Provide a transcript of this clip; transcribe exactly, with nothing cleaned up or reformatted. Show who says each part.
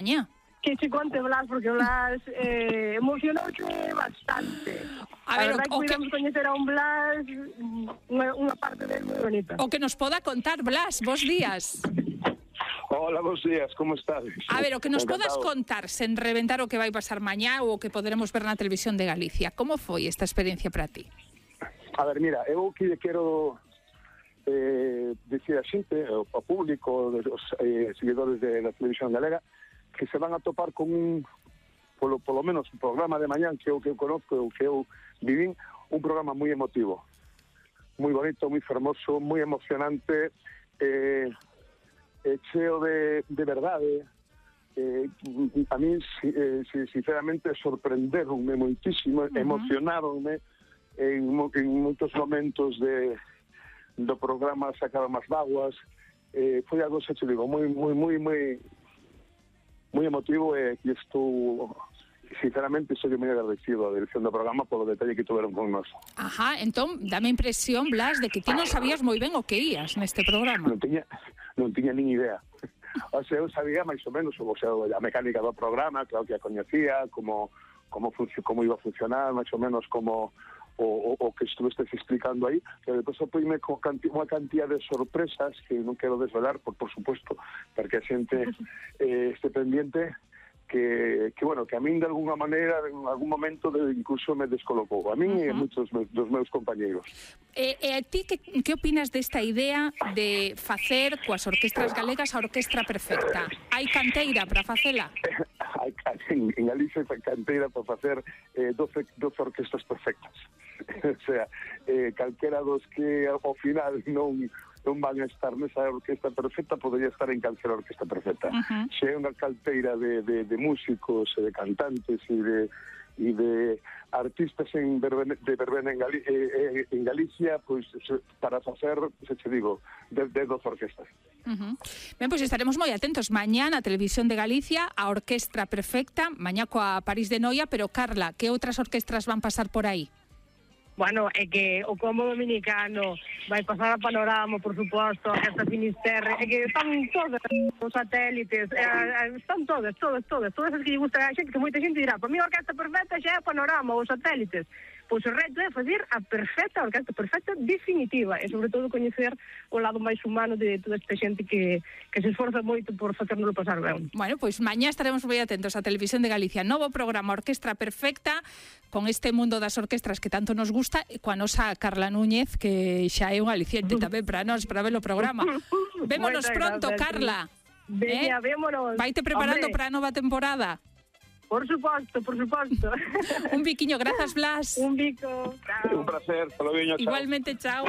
Speaker 1: mañá.
Speaker 2: Que se conte Blas, porque Blas eh, emocionouse bastante.
Speaker 1: A ver,
Speaker 2: a verdade
Speaker 1: o, o
Speaker 2: que podemos coñecer a un Blas unha, unha parte dele moi bonita.
Speaker 1: O que nos poda contar, Blas, bos días.
Speaker 3: Hola, bons días, como estades?
Speaker 1: A ver, o que nos
Speaker 3: Encantado.
Speaker 1: podas contar sen reventar o que vai pasar mañá ou o que poderemos ver na televisión de Galicia. Como foi esta experiencia para ti?
Speaker 3: A ver, mira, eu que quero eh, dicir a xente, ao público, os eh, seguidores de la televisión galega, que se van a topar con un, polo, polo menos, un programa de mañán que eu que eu conozco, o que eu vivín, un programa moi emotivo, moi bonito, moi fermoso, moi emocionante, eh, eh, cheo de, de verdade. Eh, a mí, eh, sinceramente, sorprenderonme moitísimo, uh-huh. emocionaronme en, en moitos momentos de, do programa, sacaron as vaguas, eh, foi algo, se te digo, moi, moi, moi, moi moi emotivo e eh, estou, sinceramente, estou moi agradecido a dirección do programa polo detalle que tuveron con nós.
Speaker 1: Ajá, entón, dame impresión, Blas, de que ti non sabías moi ben o que ías neste programa.
Speaker 3: Non tiña, non tiña nin idea. O sea, eu sabía máis ou menos, o sea, a mecánica do programa, claro que a coñecía, como, como, como iba a funcionar, máis ou menos como o, o, o que estuvestes explicando aí, pero depois apoime con canti, unha cantidad de sorpresas que non quero desvelar, por, por supuesto, porque a xente eh, este pendiente, que, que, bueno, que a min de alguna maneira, en algún momento, de, incluso me descolocou. A min uh-huh. e moitos dos meus compañeiros.
Speaker 1: E, e a ti, que, que opinas desta idea de facer coas orquestras galegas a orquestra perfecta? Hai canteira para facela?
Speaker 3: Hai, en, en Galicia hai canteira para facer eh, doce, doce orquestras perfectas. O sea, eh, calquera dos que ao final non non van a estar nesa orquesta perfecta, podería estar en calquera orquesta perfecta. Uh-huh. Se é unha calteira de, de, de músicos, de cantantes e de, e de artistas en verbena, de verbena en, Gali, eh, en Galicia, pois pues, para facer, se te digo, de, de dos orquestas.
Speaker 1: Uh-huh. Ben, pois pues estaremos moi atentos mañá na Televisión de Galicia, a Orquestra Perfecta, mañá coa París de Noia, pero Carla, que outras orquestras van pasar por aí?
Speaker 2: Bueno, é que o Combo Dominicano vai pasar a Panorama, por suposto, esta Finisterre, é que están todas os satélites, é, están todas, todas, todas, todas as que lle gustan a xente, que moita xente dirá, para mí a orquesta perfecta xa é Panorama, os satélites. Pois o reto é fazer a perfecta, a orquesta perfecta definitiva, e sobre todo coñecer o lado máis humano de toda esta xente que, que se esforza moito por facérnoslo pasar ben.
Speaker 1: Bueno, pois mañá estaremos moi atentos á Televisión de Galicia, novo programa Orquestra Perfecta, con este mundo das orquestras que tanto nos gusta, e coa nosa Carla Núñez, que xa é un aliciente tamén para nós, para ver o programa. Vémonos pronto, gracias, Carla.
Speaker 2: Veña, eh? vémonos.
Speaker 1: Vaite preparando para a nova temporada.
Speaker 2: Por suposto, por suposto.
Speaker 1: Un biquiño, grazas, Blas.
Speaker 2: Un bico. Chao.
Speaker 3: Un placer, hasta luego, chao.
Speaker 1: Igualmente, chao.